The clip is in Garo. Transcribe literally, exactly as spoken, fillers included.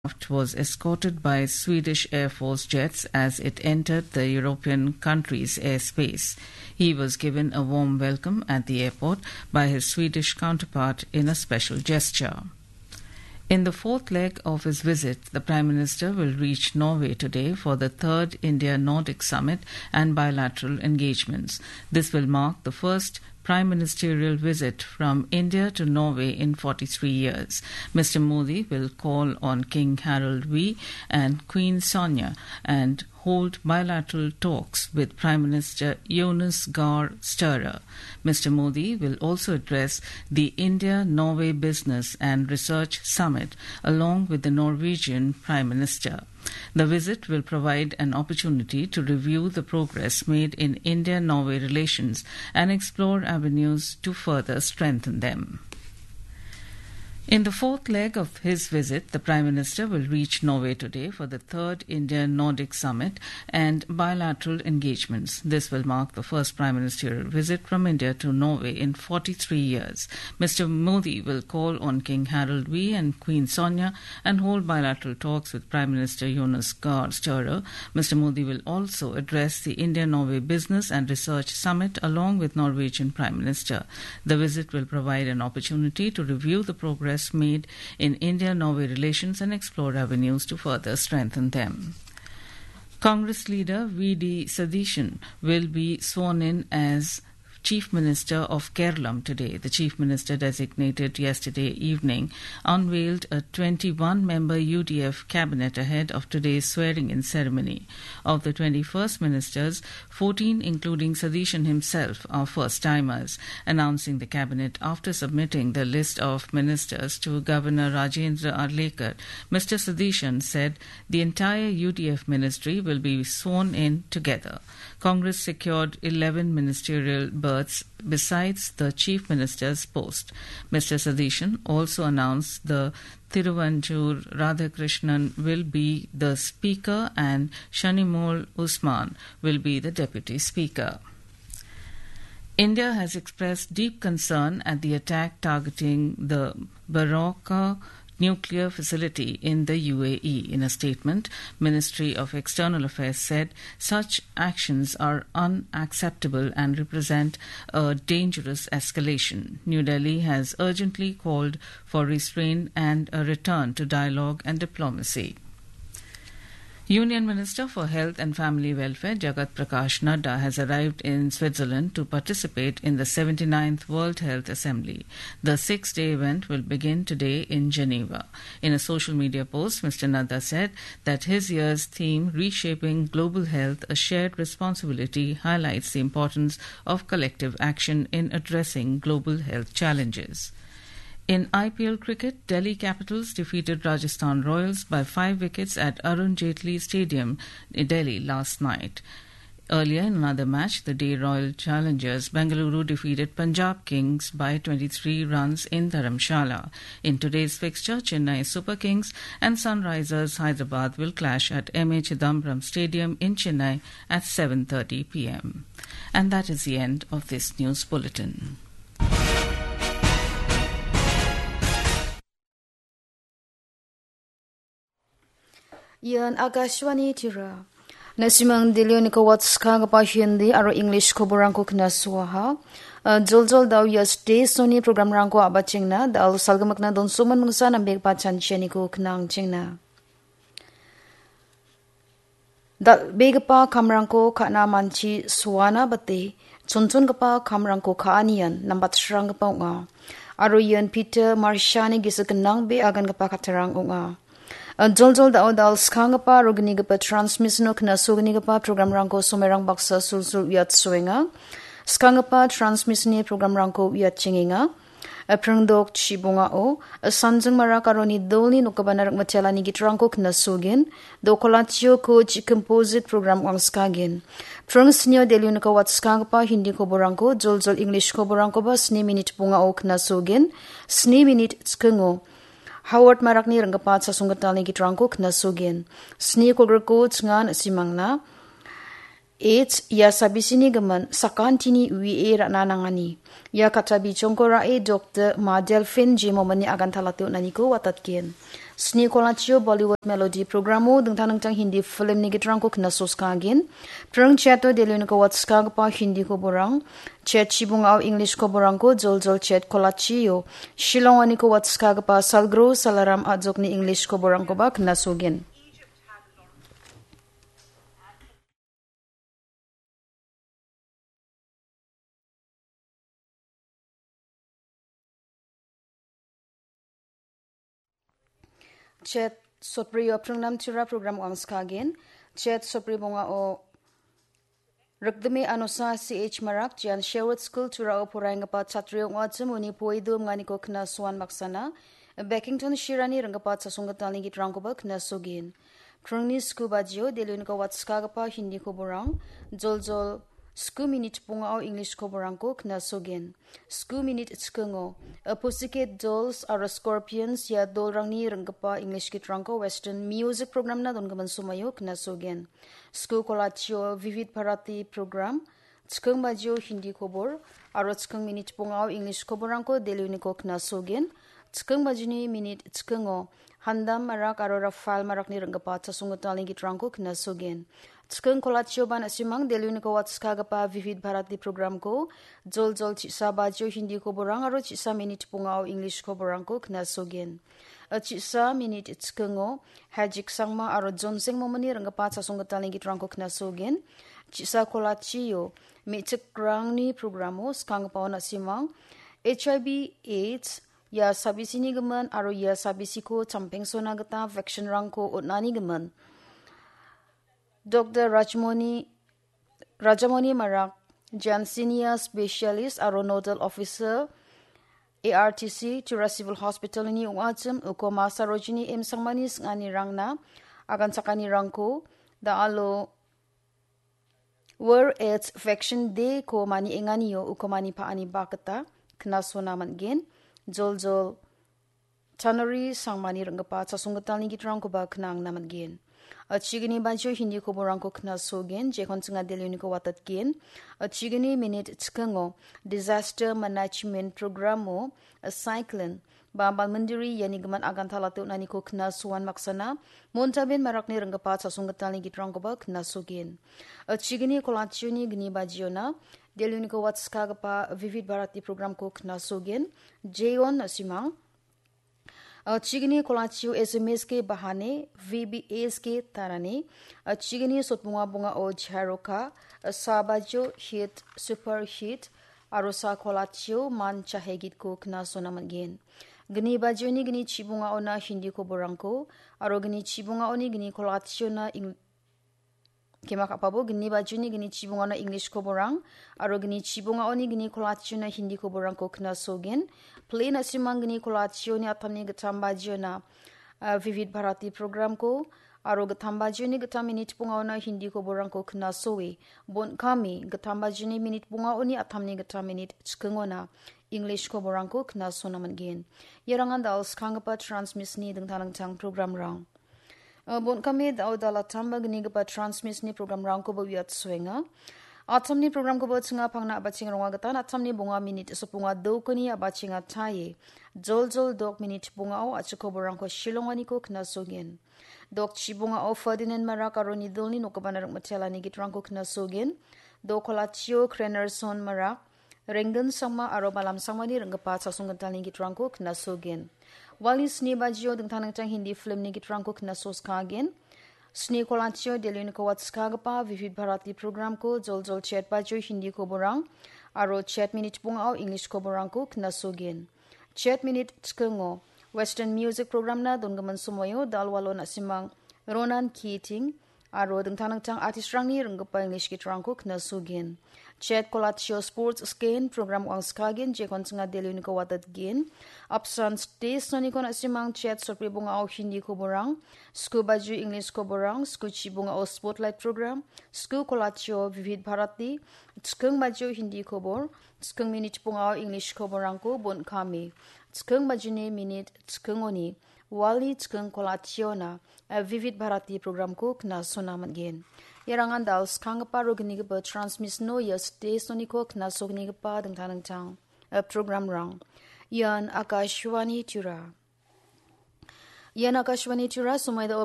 aircraft was escorted by Swedish Air Force jets as it entered the European country's airspace. He was given a warm welcome at the airport by his Swedish counterpart in a special gesture. In the fourth leg of his visit, the Prime Minister will reach Norway today for the third India-Nordic Summit and bilateral engagements. This will mark the first prime ministerial visit from India to Norway in forty-three years. Mister Modi will call on King Harald V and Queen Sonja and hold bilateral talks with Prime Minister Jonas Gahr Støre. Mister Modi will also address the India-Norway Business and Research Summit along with the Norwegian Prime Minister. The visit will provide an opportunity to review the progress made in India-Norway relations and explore avenues to further strengthen them. In the fourth leg of his visit, the Prime Minister will reach Norway today for the third India-Nordic Summit and bilateral engagements. This will mark the first prime ministerial visit from India to Norway in forty-three years. Mister Modi will call on King Harald V and Queen Sonja and hold bilateral talks with Prime Minister Jonas Gahr Støre. Mister Modi will also address the India-Norway Business and Research Summit along with Norwegian Prime Minister. The visit will provide an opportunity to review the progress made in India-Norway relations and explore avenues to further strengthen them. Congress leader V D Sadishan will be sworn in as Chief Minister of Kerala today. The Chief Minister designated yesterday evening unveiled a twenty-one-member U D F cabinet ahead of today's swearing-in ceremony. Of the twenty-first ministers, fourteen, including Sadishan himself, are first-timers. Announcing the cabinet after submitting the list of ministers to Governor Rajendra Arlekar, Mister Sadishan said the entire U D F ministry will be sworn in together. Congress secured eleven ministerial berths besides the Chief Minister's post. Mister Sadishan also announced the Thiruvanchur Radhakrishnan will be the Speaker and Shanimol Usman will be the Deputy Speaker. India has expressed deep concern at the attack targeting the Barakah nuclear facility in the U A E. In a statement, Ministry of External Affairs said such actions are unacceptable and represent a dangerous escalation. New Delhi has urgently called for restraint and a return to dialogue and diplomacy. Union Minister for Health and Family Welfare Jagat Prakash Nadda has arrived in Switzerland to participate in the seventy-ninth World Health Assembly. The six-day event will begin today in Geneva. In a social media post, Mister Nadda said that his year's theme, Reshaping Global Health, A Shared Responsibility, highlights the importance of collective action in addressing global health challenges. In I P L cricket, Delhi Capitals defeated Rajasthan Royals by five wickets at Arun Jaitley Stadium in Delhi last night. Earlier in another match, the day Royal Challengers Bengaluru defeated Punjab Kings by twenty-three runs in Dharamshala. In today's fixture, Chennai Super Kings and Sunrisers Hyderabad will clash at M A Chidambaram Stadium in Chennai at seven thirty p m. And that is the end of this news bulletin. Ian Akashvani Tira. Nasimang Delhi-o nikawatskanggipa Hindi aro English koborangko knasuaha. Eh, joljol da·o ia station-ni programrangko a·bachengna, da·o salgimikna donsoman mingsa nambekba chanchianiko knangchengna. Dal·begipa kamrangko ka·na manchi soana bate, chonchongipa kamrangko ka·anian nambatsranggipa ong·a. Aro ian Peter Marshani gisik gnang be agangipa kattarang ong·a. Joljol da·o dal skanggipa aro gnigipa transmission-o knasognigipa programrangko somerang baksa sulsul uiatsoenga. Skanggipa transmission-ni programrangko uiatchengenga. Pringdok chibongao, Sanjing Marak aro Nidolni nokgipana rikmitelani gitrangko knasogin, Dokolatio Coach Composite Program wangskagin. Pring snio Delhi-o nikawatskanggipa Hindi koborangko, joljol English koborangkoba sni minit bongao knasogin, sni minit chikingo Howard Marakni ringgipa chasonggitalni gitrangko knasogin. Sni kolgriko chingan simangna. H, ia sabisini gimin sakantini uie ra·na nangani. Ia katta bijongko ra·e Doktor Ma Delphine Jimomani aganta late on·aniko watatgen. Sni kolachio Bollywood Melody programo dingtang dingtang Hindi filmni gitrangko knasoskagen. Pring chato Delhioniko watskagipa Hindi koborang, chat chibungao English koborangko joljol chat kolachio, Shillongoniko watskagipa Salgro Salaram Ajokni English koborangkoba knasogen. Chet sotbrio pringnam tira program wangskagen. Chet sotbri bongao Rikdime Anosa C H Marak, Jan Sherwood School Turao poraienggipa chatri ong·achim uni poedu mnganiko knasoan maksana, Beckington Shirani ringgipa chasonggitalni gitrangkoba knasogen. Krongni sku bajio Delhioniko watskagipa Hindi koborang, joljol sku minit bongao English koborangko knasogen. Sku minit chikingo, A Pussycat Dolls aro Scorpions ia dolrangni ringgipa English gitrangko Western Music Programna dongimin somoio knasogen. Sku kolachio Vivid Bharati Program, chiking bajio Hindi kobor, aro chiking minit bongao English koborangko Delhioniko knasogen. Chiking bajini minit chikingo, Handam Marak aro Rafael Marakni ringgipa chasonggitalni gitrangko knasogen. Chiking kolachioba na·simang Delhioniko watskagipa Vivid Bharati Programko, joljol chisa bajio Hindi koborang aro chisa minit bongao English koborangko knasogen. A chisa minit chikingo, Hajik Sangma aro Jonseng Momoni ringgipa chasonggitalni gitrangko knasogen. Chisa kolachio, me·chikrangni programo skanggipao na·simang, H I V AIDS, ia sabisini gimin aro ia sabisiko champengsona gita vaccine-rangko on·ani gimin. Doktor Rajmoni, Rajamoni Marak, Jan Senior Specialist aro Nodal Officer, A R T C, Tura Civil Hospital-ni ong·achim, uko ma Sarojini M Sangmani sing·anirangna, aganchakanirangko, da·alo World AIDS Vaccine Day-ko manienganio uko mani pa·ani bakgita knasona man·gen. Joljol Chanori Sangmani ringgipa chasonggitalni gitrangkoba knangna man·gen. A chigini bajio Hindi koborangko knasogen, jekon chinga Delhioniko watatgen. A chigini minit chikingo Disaster Management Programo, a cyclone, ba balmindiri iani gimin aganta late on·aniko knasoan maksana, Montaben Marakni ringgipa chasonggitalni gitrangkoba knasogen. A chigini kolachioni gni bajiona, Delhioniko watskagipa Vivid Bharati Programko knasogen, Jeon na·simang. A chigini kolachio S M S K Bahane, V B S K Tarane, a chigini sotbonga bongao Jharoka, a sa bajio Hit, Super Hit, aro sa kolachio Man Chahe Gitko knasona man·gen. Gni bajioni gni chibongaona Hindi koborangko, aro gni chibongaoni gni kolachiona Eng-, kema ka·pabo, gni bajioni gni chibongaona English koborang, aro gni chibongaoni gni kolachiona Hindi koborangko knasogen. Play na·simang gni kolachioni atamni gittam bajiona, ah, Vivid Bharati programko, aro gittam bajioni gittam minit bongaona Hindi koborangko knasoe. Bon·kame, gittam bajioni minit bongaoni atamni gittam minit chikingona English koborangko knasona man·gen. Iarangan da·al skanggipa transmission-ni dingtang dingtang programrang. Ah, bon·kame da·o dal·atamba gnigipa transmission-ni programrangkoba uiatsoenga. Atamni programkoba chinga pangna a·bachenga ronga gitan atamni bonga minit sotbonga dokni a·bachenga taie. Joljol dok minit bongao a·chik koborangko shilonganiko knasogen. Dok chibongao Ferdinand Marak aro Nidolni nokgipana ringmitelani gitrangko knasogen. Dok kolachio Krenerson Marak, Renggen Sangma aro Malam Sangmani ringgipa chasonggitalni gitrangko knasogen. Wali sni bajio dingtang dingtang Hindi filmni gitrangko knasoskagen. Sni kolachio Delhioniko watskagipa Vivid Bharati programko joljol chet bajio Hindi koborang aro chet minit bongao English koborangko knasogen. Chet minit chikingo Western Music Programna dongimin somoio da·alwalo na·simang Ronan Keating aro dingtang dingtang artistrangni ringgipa English gitrangko knasogen. Chet kolachio Sports Scan program wangskagen jekon chinga Delhioniko watatgen. Apsan stage soniko na·simang chet sotbri bongao Hindi koborang, sku bajio English koborang, sku chibongao Spotlight program, sku kolachio Vivid Bharati, chiking bajio Hindi kobor, chiking minit bongao English koborangko bon·kame. Chiking bajini minit chikingoni wali chiking kolachiona, eh, Vivid Bharati programko knasona man·gen. Iarangan da·al skanggipa aro gnigipa transmission-o ia stage soniko knasognigipa dingtang dingtang, eh, programrang. Ian Akashvani Tura. Ian Akashvani Tripura, somoi dao